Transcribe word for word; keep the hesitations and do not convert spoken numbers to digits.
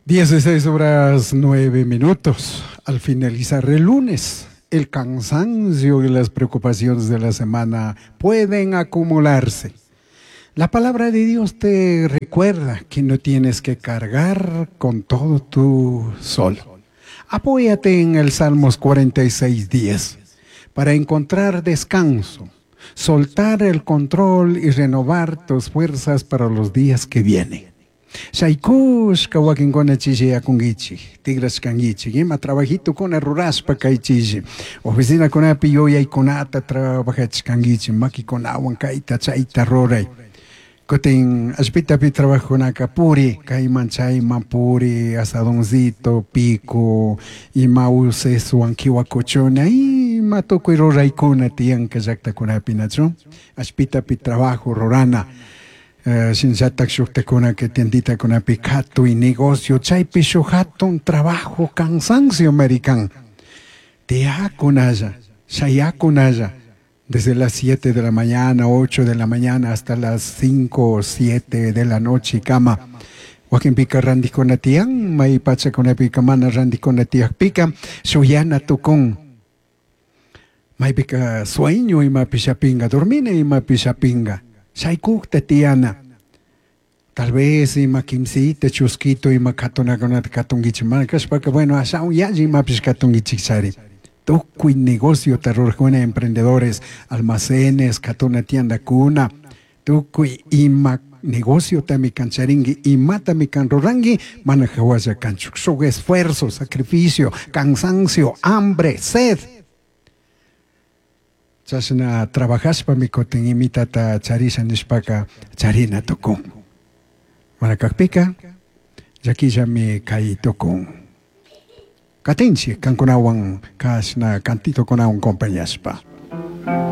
Dieciséis horas nueve minutos. Al finalizar el lunes, el cansancio y las preocupaciones de la semana pueden acumularse. La palabra de Dios te recuerda que no tienes que cargar con todo tú solo. Apóyate en el Salmos cuarenta y seis, diez para encontrar descanso, soltar el control y renovar tus fuerzas para los días que vienen. Shaykushka wakinkuna chishiyakunkichik, tigrashkankichik, ima trabajitukuna rurashpa kay chishi, oficinakunapi yuyaykunata trabajachkankichik, makikunawan kayta chayta ruray. Kutin allpitapi trabajokunaka puri, kayman chayman puri, asadoncito, pico, ima usesuwan kiwakuchuna, ima tukuy ruraykuna tiyanka llaktakunapi, nachu? Allpitapi trabajo rurana. Eh, shinallatak shuktakunaka tienditakunapi katuy negocio, chaypi shuk hatun trabajo cansancio american. Tiyakunalla, shayakunalla, desde las siete de la mañana, ocho de la mañana hasta las cinco o siete de la noche, kama. Wakinpika rantikuna tiyan, may pachakunapika mana rantikuna tiyakpika, shuyana tukun. Maypika sueño imapi shapinga, dormina imapi shapinga. Shaykukta tiyana. Tal vez ima kimsita, chusquito, ima katunakunata katunkichik. Mana kashpaka, bueno, ashawan yalli imapish katunkichik chari. Tukuy negocio rurajkuna, emprendedores, almacenes, katuna tiendakuna, tukuy ima negocio tami kancharinki, imatami kan ruranki, mana hawalla kanchu. Shuk esfuerzo, sacrificio, cansancio, hambre, sed. Chashna trabajashpami kutin imitata charisha nishpaka charina tukun. Mana kakpika, llakillami kay tukun. Katinchik kankunawan kashna cantitokunawan compañashpa.